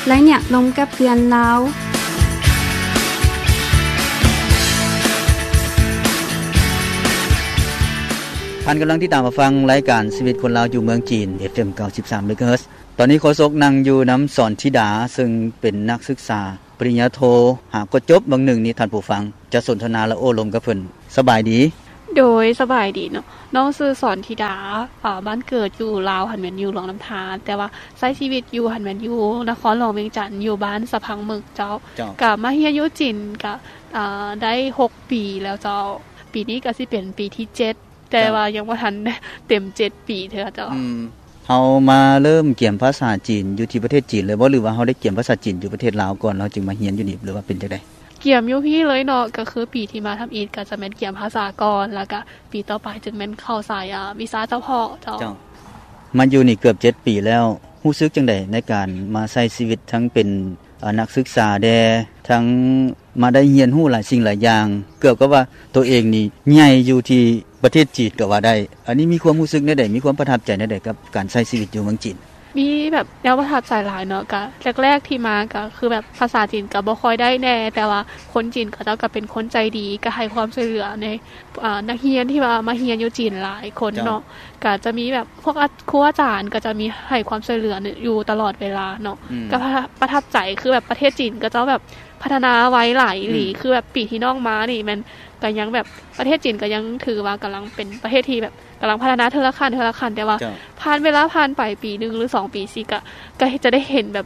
ໄລຍະລົມກັບເຮືອນລາວ. ທ່ານກຳລັງຕິດຕາມຮັບຟັງລາຍການຊີວິດຄົນລາວຢູ່ເມືອງຈີນ ເອັຟເອັມ ເກົ້າສິບສາມເມກາເຮີດ. ຕອນນີ້ໂຄສົກນັ່ງຢູ່ນຳສອນທິດາ ເຊິ່ງເປັນນັກສຶກສາປະລິນຍາໂທ ຫາກໍຈົບເບິ່ງໜຶ່ງນີ້ ທ່ານຜູ້ຟັງຈະສົນທະນາ ແລະ ໂອ້ລົມກັບເພິ່ນ. ສະບາຍດີ. ໂດຍ ສະບາຍດີເນາະ. ນ້ອງຊື່ສອນທິດາ ອາ ບ້ານເກີດຢູ່ລາວຫັ້ນແມ່ນຢູ່ຫຼວງນ້ຳທາ ແຕ່ວ່າໃຊ້ຊີວິດຢູ່ຫັ້ນແມ່ນຢູ່ນະຄອນຫຼວງວຽງຈັນ ຢູ່ບ້ານສະພັງເໝິກເຈົ້າ. ເຈົ້າ. ກະມາຮຽນຢູ່ຈີນກະ ອາ ໄດ້ຫົກປີແລ້ວເຈົ້າ. ປີນີ້ກະຊິເປັນປີທີເຈັດ ແຕ່ ເຈົ້າ ວ່າຍັງບໍ່ທັນເຕັມເຈັດປີເທື່ອເຈົ້າ. ອືມ ເຮົາມາເລີ່ມກຽມພາສາຈີນຢູ່ທີ່ປະເທດຈີນເລີຍບໍ່ ຫຼືວ່າເຮົາໄດ້ກຽມພາສາຈີນຢູ່ປະເທດລາວກ່ອນ ເຮົາຈຶ່ງມາຮຽນຢູ່ນີ້ ຫຼືວ່າເປັນຈັ່ງໃດ? ກຽມຢູ່ພີ້ເລີຍເນາະ ກະຄືປີທີ່ມາທຳອິດກະຈະແມ່ນກຽມພາສາກ່ອນ ແລ້ວກະປີຕໍ່ໄປຈຶ່ງແມ່ນເຂົ້າສາຍ ອາ ວິຊາສະເພາະເຈົ້າ. ເຈົ້າ. ມາຢູ່ນີ້ເກືອບເຈັດປີແລ້ວ ຮູ້ສຶກຈັ່ງໃດໃນການມາໃຊ້ຊີວິດທັງເປັນ ອາ ນັກສຶກສາແດ່ ທັງມາໄດ້ຮຽນຮູ້ຫຼາຍສິ່ງຫຼາຍຢ່າງ ເກືອບກັບວ່າໂຕເອງນີ້ໃຫຍ່ຢູ່ທີ່ປະເທດຈີນກໍວ່າໄດ້. ອັນນີ້ມີຄວາມຮູ້ສຶກແນວໃດ? ມີຄວາມປະທັບໃຈແນວໃດກັບການໃຊ້ຊີວິດຢູ່ເມືອງຈີນ? ມີແບບແນວປະທັບໃຈຫຼາຍເນາະ. ກະແລກໆທີ່ມາກະຄືແບບພາສາຈີນກະບໍ່ຄ່ອຍໄດ້ແດ່ ແຕ່ວ່າຄົນຈີນເຂົາເຈົ້າກະເປັນຄົນໃຈດີ ກະໃຫ້ຄວາມຊ່ວຍເຫຼືອໃນ ອາ ນັກຮຽນທີ່ວ່າມາຮຽນຢູ່ຈີນຫຼາຍຄົນເນາະ. ເຈົ້າ. ກະຈະມີແບບພວກອາ ຄູອາຈານກະຈະມີໃຫ້ຄວາມຊ່ວຍເຫຼືອຢູ່ຕະຫຼອດເວລາເນາະ. ອືມ. ກະປະ ປະທັບໃຈ ຄືແບບປະເທດຈີນເຂົາເຈົ້າແບບພັດທະນາໄວຫຼາຍອີ່ຫຼີ. ອືມ. ຄືແບບປີທີ່ນ້ອງມານີ້ແມ່ນກະຍັງແບບ ປະເທດຈີນກະຍັງຖືວ່າກຳລັງເປັນປະເທດທີ່ແບບກຳລັງພັດທະນາເທື່ອລະຂັ້ນ ເທື່ອລະຂັ້ນ ແຕ່ວ່າ ເຈົ້າ ຜ່ານເວລາຜ່ານໄປປີໜຶ່ງ ຫຼື ສອງປີ ຊິກະ ກະຈະໄດ້ເຫັນແບບ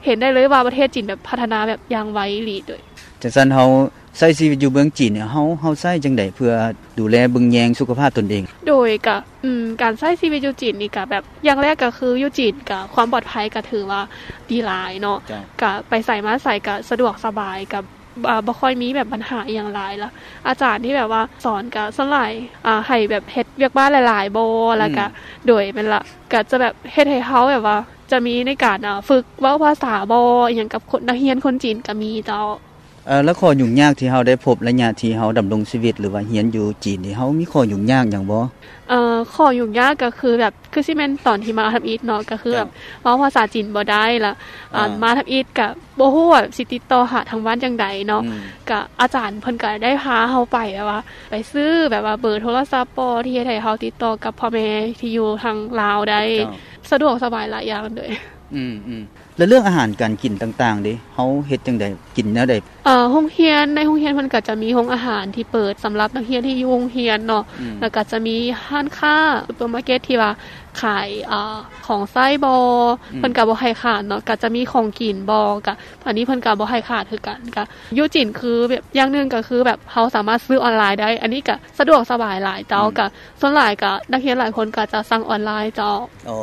ເຫັນໄດ້ເລີຍວ່າປະເທດຈີນແບບພັດທະນາແບບຢ່າງໄວອີ່ຫຼີ. ໂດຍ ຈັ່ງຊັ້ນເຮົາໃຊ້ຊີວິດຢູ່ເມືອງຈີນນີ້ ເຮົາ ເຮົາໃຊ້ຈັ່ງໃດເພື່ອດູແລເບິ່ງແຍງສຸຂະພາບຕົນເອງ? ໂດຍ ກະ ອືມ ການໃຊ້ຊີວິດຢູ່ຈີນນີ້ກະແບບ ຢ່າງແລກກະຄືຢູ່ຈີນກະຄວາມປອດໄພກະຖືວ່າດີຫຼາຍເນາະ. ເຈົ້າ. ກະໄປໃສມາໃສກະສະດວກສະບາຍ ກະ ອາ ບໍ່ຄ່ອຍມີແບບບັນຫາອີ່ຫຍັງຫຼາຍລະ. ອາຈານທີ່ແບບວ່າສອນກະສ່ວນຫຼາຍ ອາ ໃຫ້ແບບເຮັດວຽກບ້ານຫຼາຍໆບໍ່ ລະກະ ອືມ ໂດຍ ແມ່ນລະ ກະຈະແບບເຮັດໃຫ້ເຮົາແບບວ່າຈະມີໃນການ ອາ ຝຶກເວົ້າພາສາບໍ່ ອີ່ຫຍັງກັບຄົນ ນັກຮຽນຄົນຈີນກະມີເຈົ້າ. ເອີ ແລ້ວຂໍ້ຫຍຸ້ງຍາກທີ່ເຮົາໄດ້ພົບໄລຍະທີ່ເຮົາດຳລົງຊີວິດ ຫຼືວ່າຮຽນຢູ່ຈີນນີ້ ເຮົາມີຂໍ້ຫຍຸ້ງຍາກຫຍັງບໍ່? ເອີ ຂໍ້ຫຍຸ້ງຍາກກະຄືແບບ ຄືຊິແມ່ນຕອນທີ່ມາທຳອິດເນາະ ກະຄືແບບ ເຈົ້າ ເວົ້າພາສາຈີນບໍ່ໄດ້ລະ ອາ ມາທຳອິດກະບໍ່ຮູ້ວ່າຊິຕິດຕໍ່ຫາທາງບ້ານຈັ່ງໃດເນາະ. ອືມ. ກະອາຈານເພິ່ນກະໄດ້ພາເຮົາໄປແບບວ່າ ໄປຊື້ແບບວ່າເບີໂທລະສັບບໍ່ ທີ່ເຮັດໃຫ້ເຮົາຕິດຕໍ່ກັບພໍ່ແມ່ທີ່ຢູ່ທາງລາວໄດ້. ເຈົ້າ. ສະດວກສະບາຍຫຼາຍຢ່າງເລີຍ. ອືມໆ. ແລ້ວເລື່ອງອາຫານການກິນຕ່າງໆເດ ເຮົາເຮັດຈັ່ງໃດ? ກິນແນວໃດ? ເອີ ໂຮງຮຽນ ໃນໂຮງຮຽນເພິ່ນກະຈະມີໂຮງອາຫານທີ່ເປີດສຳລັບນັກຮຽນທີ່ຢູ່ໂຮງຮຽນເນາະ. ອືມ. ແລ້ວກະຈະມີຮ້ານຄ້າ ຊຸບເປີມາເກັດ ທີ່ວ່າຂາຍ ເອີ ຂອງໃຊ້ບໍ່ ອືມ ເພິ່ນກະບໍ່ໃຫ້ຂາດເນາະ ກະຈະມີຂອງກິນບໍ່ ກະ ອັນນີ້ເພິ່ນກະບໍ່ໃຫ້ຂາດຄືກັນ. ກະຢູ່ຈີນຄືແບບ ຢ່າງໜຶ່ງກະຄືແບບເຮົາສາມາດຊື້ອອນລາຍໄດ້ ອັນນີ້ກະສະດວກສະບາຍຫຼາຍເຈົ້າ. ອືມ. ກະສ່ວນຫຼາຍກະນັກຮຽນຫຼາຍຄົນກະຈະສັ່ງອອນລາຍເຈົ້າ. ອໍ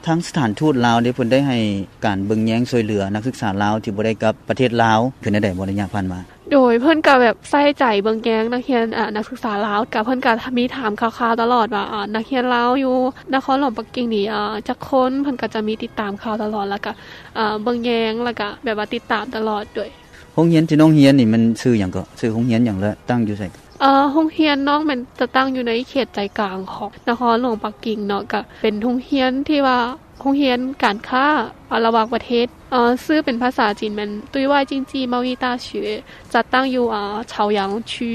ທາງສະຖານທູດລາວເດ ເພິ່ນໄດ້ໃຫ້ການເບິ່ງແຍງຊ່ວຍເຫຼືອນັກສຶກສາລາວທີ່ບໍ່ໄດ້ກັບປະເທດລາວ ຄືແນວໃດບໍ່ ໄລຍະຜ່ານມາ? ໂດຍ ເພິ່ນກະແບບໃສ່ໃຈເບິ່ງແຍງນັກຮຽນ ອາ ນັກສຶກສາລາວ ກະເພິ່ນກະມີຖາມຂ່າວໆຕະຫຼອດວ່າ ອາ ນັກຮຽນລາວຢູ່ນະຄອນຫຼວງປັກກິ່ງນີ້ ອາ ຈັກຄົນ ເພິ່ນກະຈະມີຕິດຕາມຂ່າວຕະຫຼອດ ແລ້ວກະ ອາ ເບິ່ງແຍງ ແລ້ວກະແບບວ່າຕິດຕາມຕະຫຼອດໂດຍ. ໂຮງຮຽນທີ່ນ້ອງຮຽນນີ້ແມ່ນຊື່ຫຍັງເກາະ? ຊື່ໂຮງຮຽນຫຍັງ ແລະ ຕັ້ງຢູ່ໃສ? ເອີ ໂຮງຮຽນນ້ອງແມ່ນຈະຕັ້ງຢູ່ໃນເຂດໃຈກາງຂອງນະຄອນຫຼວງປັກກິ່ງເນາະ ກະເປັນໂຮງຮຽນທີ່ວ່າ ໂຮງຮຽນການຄ້າ ອາ ລະຫວ່າງປະເທດ ເອີ ຊື່ເປັນພາສາຈີນແມ່ນ 对外经济贸易大学 ຈັດຕັ້ງຢູ່ ອາ 朝阳区.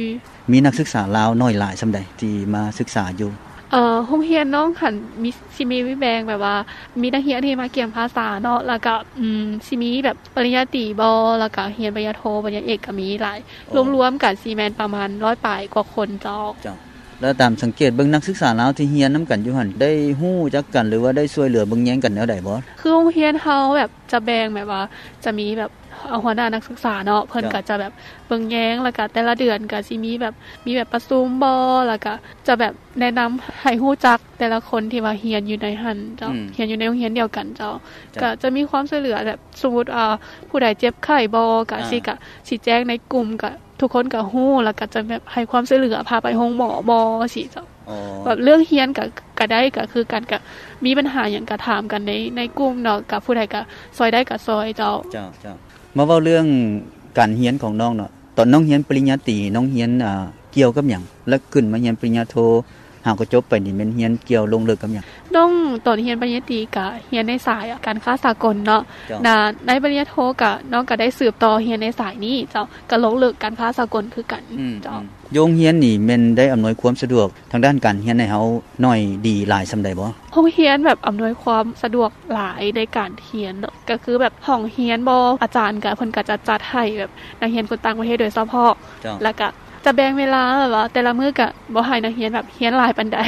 ມີນັກສຶກສາລາວໜ້ອຍຫຼາຍສ່ຳໃດທີ່ມາສຶກສາຢູ່? ເອີ ໂຮງຮຽນນ້ອງຫັ້ນມີ ຊິມີແບ່ງແບບວ່າ ມີນັກຮຽນທີ່ມາກຽມພາສາເນາະ ແລ້ວກະ ອືມ ຊິມີແບບປະລິນຍາຕີບໍ່ ແລ້ວກະຮຽນປະລິນຍາໂທ ປະລິນຍາເອກກະມີຫຼາຍ. ອໍ ລວມໆກັນຊິແມ່ນປະມານຮ້ອຍປາຍກວ່າຄົນເຈົ້າ. ເຈົ້າ. ແລ້ວຕາມສັງເກດເບິ່ງ ນັກສຶກສາລາວທີ່ຮຽນນຳກັນຢູ່ຫັ້ນ ໄດ້ຮູ້ຈັກກັນ ຫຼືວ່າໄດ້ຊ່ວຍເຫຼືອເບິ່ງແຍງກັນແນວໃດບໍ່? ຄືໂຮງຮຽນເຮົາແບບຈະແບ່ງແບບວ່າ ຈະມີແບບ ເອີ ຫົວໜ້ານັກສຶກສາເນາະ ເພິ່ນ ເຈົ້າ ກະຈະແບບເບິ່ງແຍງ ແລ້ວກະແຕ່ລະເດືອນກະຊິມີແບບ ມີແບບປະຊຸມບໍ່ ແລ້ວກະຈະແບບແນະນຳໃຫ້ຮູ້ຈັກແຕ່ລະຄົນທີ່ວ່າຮຽນຢູ່ໃນຫັ້ນເຈົ້າ. ອືມ. ຮຽນຢູ່ໃນໂຮງຮຽນດຽວກັນເຈົ້າ. ເຈົ້າ. ກະຈະມີຄວາມຊ່ວຍເຫຼືອແບບ ສົມມຸດ ເອີ ຜູ້ໃດເຈັບໄຂ້ບໍ່ ກະ ອາ ຊິ ກະຊິແຈ້ງໃນກຸ່ມ ກະ ທຸກຄົນກະຮູ້ ແລ້ວກະຈະແບບໃຫ້ຄວາມຊ່ວຍເຫຼືອ ພາໄປໂຮງໝໍບໍ່ ຊີ້ເຈົ້າ. ອໍ ແບບເລື່ອງຮຽນກະ ກະໄດ້ ກະຄືກັນ ກະມີບັນຫາຫຍັງກະຖາມກັນໃນ ໃນກຸ່ມເນາະ ກະຜູ້ໃດກະຊ່ອຍໄດ້ກະຊ່ອຍເຈົ້າ. ເຈົ້າ ເຈົ້າ. ມາເວົ້າເລື່ອງການຮຽນຂອງນ້ອງເນາະ ຕອນນ້ອງຮຽນປະລິນຍາຕີ ນ້ອງຮຽນ ອາ ກ່ຽວກັບຫຍັງ? ແລະ ຂຶ້ນມາຮຽນປະລິນຍາໂທ ຫາກໍຈົບໄປນີ້ແມ່ນຮຽນກ່ຽວລົງເລິກກັບຫຍັງ? ໂ ນ້ອງຕອນຮຽນປະລິນຍາຕີກະຮຽນໃນສາຍການຄ້າສາກົນເນາະ. ເຈົ້າ. ນະ ໃນປະລິນຍາໂທກະ ນ້ອງກະໄດ້ສືບຕໍ່ຮຽນໃນສາຍນີ້ເຈົ້າ ກະລົງເລິກການຄ້າສາກົນຄືກັນ. ອືມ ເຈົ້າ. ອືມ ຢູ່ໂຮງຮຽນນີ້ແມ່ນໄດ້ອຳນວຍຄວາມສະດວກທາງດ້ານການຮຽນໃຫ້ເຮົາໜ້ອຍດີຫຼາຍສ່ຳໃດບໍ່? ໂຮງຮຽນແບບອຳນວຍຄວາມສະດວກຫຼາຍໃນການຮຽນເນາະ ກະຄືແບບຫ້ອງຮຽນບໍ ອາຈານກະ ເພິ່ນກະຈະຈັດໃຫ້ແບບນັກຮຽນຄົນຕ່າງປະເທດໂດຍສະເພາະ. ເຈົ້າ. ແລ້ວກະຈະແບ່ງເວລາແບບວ່າແຕ່ລະມື້ກະບໍ່ໃຫ້ນັກຮຽນແບບຮຽນຫຼາຍປານໃດ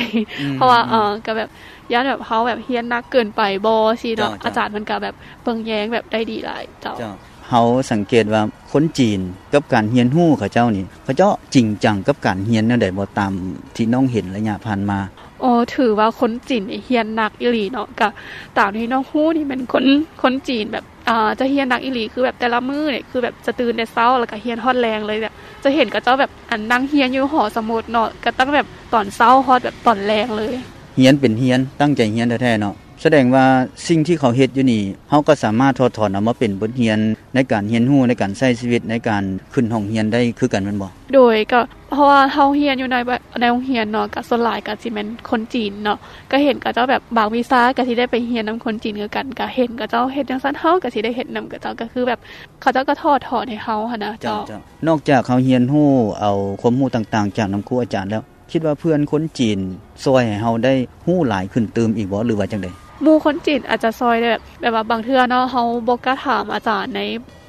ອືມ ເພາະວ່າ ອືມ ເອີ ກະແບບຢ້ານແບບເຮົາແບບຮຽນໜັກເກີນໄປບໍຊີ້ເນາະ. ເຈົ້າ ເຈົ້າ. ອາຈານເພິ່ນກະແບບເບິ່ງແຍງແບບໄດ້ດີຫຼາຍເຈົ້າ. ເຈົ້າ. ເຮົາສັງເກດວ່າຄົນຈີນກັບການຮຽນຮູ້ເຂົາເຈົ້ານີ້ ເຂົາເຈົ້າຈິງຈັງກັບການຮຽນແນວໃດບໍ່ ຕາມທີ່ນ້ອງເຫັນໄລຍະຜ່ານມາ? ໂອ ຖືວ່າຄົນຈີນນີ້ຮຽນໜັກອີ່ຫຼີເນາະ. ກະຕາມທີ່ນ້ອງຮູ້ນີ້ແມ່ນຄົນ ຄົນຈີນແບບ ອາ ຈະຮຽນໜັກອີ່ຫຼີ ຄືແບບແຕ່ລະມື້ນີ້ ຄືແບບຈະຕື່ນແຕ່ເຊົ້າ ແລ້ວກະຮຽນຮອດແລງເລີຍ. ແບບຈະເຫັນເຂົາເຈົ້າແບບ ອັນ ນັ່ງຮຽນຢູ່ຫໍສະໝຸດເນາະ ກະຕັ້ງແບບຕອນເຊົ້າຮອດແບບຕອນແລງເລີຍ. ຮຽນເປັນຮຽນ ຕັ້ງໃຈຮຽນແທ້ໆເນາະ. ສະແດງວ່າສິ່ງທີ່ເຂົາເຮັດຢູ່ນີ້ ເຮົາກໍສາມາດຖອດຖອນເອົາມາເປັນບົດຮຽນໃນການຮຽນຮູ້ ໃນການໃຊ້ຊີວິດ ໃນການຂຶ້ນຫ້ອງຮຽນໄດ້ຄືກັນແມ່ນບໍ່? ໂດຍ ກໍເພາະວ່າເຮົາຮຽນຢູ່ໃນ ໃນໂຮງຮຽນເນາະ ກໍສ່ວນຫຼາຍກໍຊິແມ່ນຄົນຈີນເນາະ ກໍເຫັນເຂົາເຈົ້າແບບບາງວິຊາກໍຊິໄດ້ໄປຮຽນນຳຄົນຈີນຄືກັນ ກໍເຫັນເຂົາເຈົ້າເຮັດຈັ່ງຊັ້ນ ເຮົາກໍຊິໄດ້ເຮັດນຳເຂົາເຈົ້າ ກໍຄືແບບເຂົາເຈົ້າກໍຖອດຖອນໃຫ້ເຮົາຫັ້ນນະ. ເຈົ້າ ເຈົ້າ. ເຈົ້າ ນອກຈາກເຮົາຮຽນຮູ້ເອົາຄວາມຮູ້ຕ່າງໆຈາກນຳຄູອາຈານແລ້ວ ຄິດວ່າເພື່ອນຄົນຈີນຊ່ວຍໃຫ້ເຮົາໄດ້ຮູ້ຫຼາຍຂຶ້ນຕື່ມອີກບໍ່ ຫຼືວ່າຈັ່ງໃດ? ໝູ່ຄົນຈີນອາດຈະຊ່ອຍໄດ້ ແບບ ແບບວ່າບາງເທື່ອເນາະ ເຮົາບໍ່ກ້າຖາມອາຈານໃນ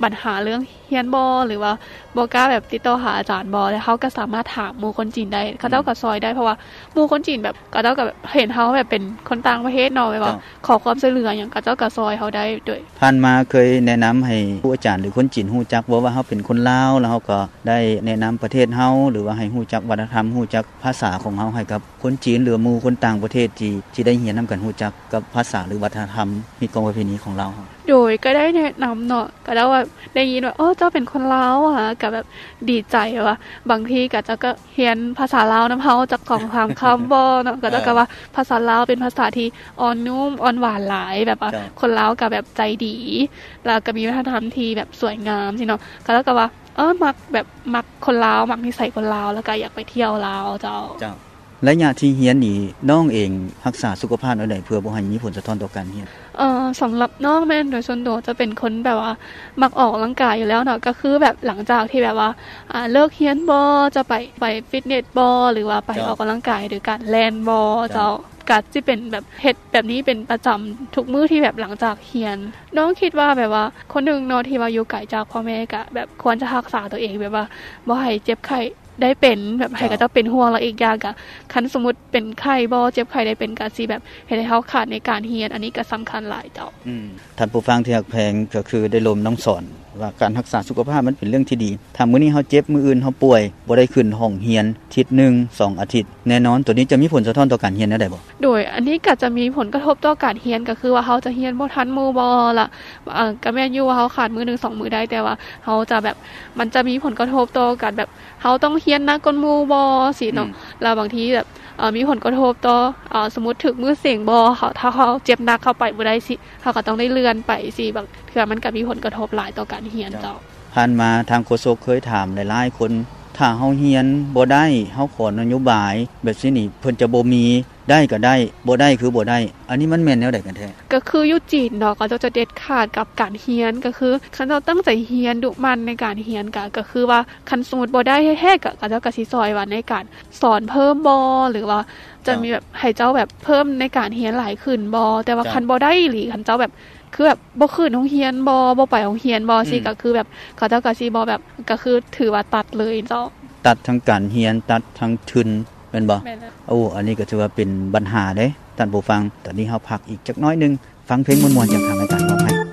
ບັນຫາເລື່ອງຮຽນບໍ ຫຼືວ່າບໍ່ກ້າແບບຕິດຕໍ່ຫາອາຈານບໍ ແລ້ວເຮົາກໍສາມາດຖາມໝູ່ຄົນຈີນໄດ້ ເຂົາເຈົ້າກໍຊ່ອຍໄດ້ ເພາະວ່າໝູ່ຄົນຈີນແບບ ເຂົາເຈົ້າກໍແບບເຫັນເຮົາແບບເປັນຄົນຕ່າງປະເທດເນາະ ແບບວ່າ ເຈົ້າ ຂໍຄວາມຊ່ວຍເຫຼືອຫຍັງ ເຂົາເຈົ້າກໍຊ່ອຍເຮົາໄດ້ໂດຍ. ຜ່ານມາເຄີຍແນະນຳໃຫ້ຄູອາຈານ ຫຼື ຄົນຈີນຮູ້ຈັກບໍ່ວ່າເຮົາເປັນຄົນລາວ ແລ້ວເຮົາກໍໄດ້ແນະນຳປະເທດເຮົາ ຫຼືວ່າໃຫ້ຮູ້ຈັກວັດທະນະທຳ ຮູ້ຈັກພາສາຂອງເຮົາໃຫ້ກັບຄົນຈີນ ຫຼືວ່າໝູ່ຄົນຕ່າງປະເທດທີ່ ທີ່ໄດ້ຮຽນນຳກັນ ຮູ້ຈັກກັບພາສາ ຫຼື ວັດທະນະທຳ ຮີດຄອງປະເພນີຂອງລາວເຮົາ? ໂດຍ ກໍໄດ້ແນະນຳເນາະ ກໍໄດ້ວ່າໄດ້ຍິນວ່າ ໂອ້ ເຈົ້າເປັນຄົນລາວຫວາ ກໍແບບດີໃຈ ແບບວ່າບາງທີກໍເຈົ້າກໍ ຮຽນພາສາລາວນຳເຮົາຈັກສອງສາມຄຳບໍ່ເນາະ ເຂົາເຈົ້າກໍວ່າພາສາລາວເປັນພາສາທີ່ອ່ອນນຸ້ມອ່ອນຫວານຫຼາຍ ແບບວ່າ ເຈົ້າ ຄົນລາວກໍແບບໃຈດີ ແລ້ວກໍມີວັດທະນະທຳທີ່ແບບສວຍງາມຊີ້ເນາະ ເຂົາເຈົ້າກໍວ່າ ເອີ ມັກແບບ ມັກຄົນລາວ ມັກນິໄສຄົນລາວ ແລ້ວກໍຢາກໄປທ່ຽວລາວເຈົ້າ. ເຈົ້າ. ໄລຍະທີ່ຮຽນນີ້ ນ້ອງເອງຮັກສາສຸຂະພາບແນວໃດ ເພື່ອບໍ່ໃຫ້ມີຜົນສະທ້ອນຕໍ່ການຮຽນ? ເອີ ສຳລັບນ້ອງແມ່ນໂດຍສ່ວນຕົວຈະເປັນຄົນແບບວ່າມັກອອກກຳລັງກາຍຢູ່ແລ້ວເນາະ ກໍຄືແບບຫຼັງຈາກທີ່ແບບວ່າ ອາ ເລີກຮຽນບໍ ຈະໄປ ໄປຟິດເນັດບໍ ຫຼືວ່າໄປ ເຈົ້າ ອອກກຳລັງກາຍໂດຍການແລ່ນບໍ ເຈົ້າ ເຈົ້າ ກໍຊິເປັນແບບເຮັດແບບນີ້ເປັນປະຈຳທຸກມື້ທີ່ແບບຫຼັງຈາກຮຽນ. ນ້ອງຄິດວ່າແບບວ່າຄົນໜຶ່ງເນາະ ທີ່ວ່າຢູ່ໄກຈາກພໍ່ແມ່ ກໍແບບຄວນຈະຮັກສາຕົວເອງ ແບບວ່າບໍ່ໃຫ້ເຈັບໄຂ້ ໄດ້ເປັນ ແບບໃຫ້ເຂົາເຈົ້າເປັນຫ່ວງ ແລ້ວອີກຢ່າງກະ ຄັນສົມມຸດເປັນໄຂ້ບໍ ເຈັບໄຂ້ໄດ້ເປັນ ກະຊິແບບເຮັດໃຫ້ເຮົາຂາດໃນການຮຽນ ອັນນີ້ກະສຳຄັນຫຼາຍເຈົ້າ. ອືມ ທ່ານຜູ້ຟັງທີ່ຮັກແພງ ກະຄືໄດ້ລົມນ້ອງສອນວ່າການຮັກສາສຸຂະພາບມັນເປັນເລື່ອງທີ່ດີ ຖ້າມື້ນີ້ເຮົາເຈັບ ມື້ອື່ນເຮົາປ່ວຍ ບໍ່ໄດ້ຂຶ້ນຫ້ອງຮຽນທິດໜຶ່ງ ສອງອາທິດ ແນ່ນອນໂຕນີ້ຈະມີຜົນສະທ້ອນຕໍ່ການຮຽນແນວໃດບໍ? ໂດຍ ອັນນີ້ກະຈະມີຜົນກະທົບຕໍ່ການຮຽນ ກະຄືວ່າເຮົາຈະຮຽນບໍ່ທັນໝູ່ບໍລະ ອາ ກະແມ່ນຢູ່ວ່າເຮົາຂາດມື້ໜຶ່ງສອງມື້ໄດ້ ແຕ່ວ່າເຮົາຈະແບບ ມັນຈະມີຜົນກະທົບຕໍ່ການແບບ ເຮົາຕ້ອງຮຽນໜັກກວ່າໝູ່ບໍຊີ້ເນາະ ອືມ ແລ້ວບາງທີແບບ ເອີ ມີຜົນກະທົບຕໍ່ ເອີ ສົມມຸດຖືກມື້ເສັງບໍ ເຮົາ ຖ້າເຮົາເຈັບໜັກເຮົາໄປບໍ່ໄດ້ຊີ້ ເຮົາກໍຕ້ອງໄດ້ເລື່ອນໄປຊີ້ ບາງເທື່ອມັນກໍມີຜົນກະທົບຫຼາຍຕໍ່ການຮຽນເຈົ້າ. ເຈົ້າ ຜ່ານມາທາງໂຄສົກເຄີຍຖາມຫຼາຍໆຄົນ ຖ້າເຮົາຮຽນບໍ່ໄດ້ ເຮົາຂໍນະໂຍບາຍແບບຊີ້ນີ້ ເພິ່ນຈະບໍ່ມີ ໄດ້ກໍໄດ້ ບໍ່ໄດ້ຄືບໍ່ໄດ້ ອັນນີ້ມັນແມ່ນແນວໃດກັນແທ້? ກໍຄືຢູ່ຈີນເນາະ ເຂົາເຈົ້າຈະເດັດຂາດກັບການຮຽນ ກໍຄືຄັນເຈົ້າຕັ້ງໃຈຮຽນ ດຸໝັ່ນໃນການຮຽນ ກໍ ກໍຄືວ່າຄັນສົມມຸດບໍ່ໄດ້ແທ້ໆ ກໍ ເຂົາເຈົ້າກໍຊິຊ່ອຍວ່າໃນການສອນເພີ່ມບໍ ຫຼືວ່າຈະມີແບບໃຫ້ເຈົ້າແບບເພີ່ມໃນການຮຽນຫຼາຍຂຶ້ນບໍ ແຕ່ວ່າ ເຈົ້າ ຄັນບໍ່ໄດ້ອີ່ຫຼີ ຄັນເຈົ້າແບບ ຄືແບບບໍ່ຂຶ້ນໂຮງຮຽນບໍ ບໍ່ໄປໂຮງຮຽນບໍ ອືມ ຊີ້ ກໍຄືແບບເຂົາເຈົ້າກໍຊິບໍ່ແບບ ກໍຄືຖືວ່າຕັດເລີຍເຈົ້າ. ຕັດທັງການຮຽນ ຕັດທັງທຶນ ແມ່ນບໍ່? ແມ່ນແລ້ວ. ໂອ້ ອັນນີ້ກໍຖືວ່າເປັນບັນຫາເດ້ທ່ານຜູ້ຟັງ. ຕອນນີ້ເຮົາພັກອີກຈັກໜ້ອຍໜຶ່ງ ຟັງເພງມ່ວນໆຈາກທາງລາຍການມອບໃຫ້.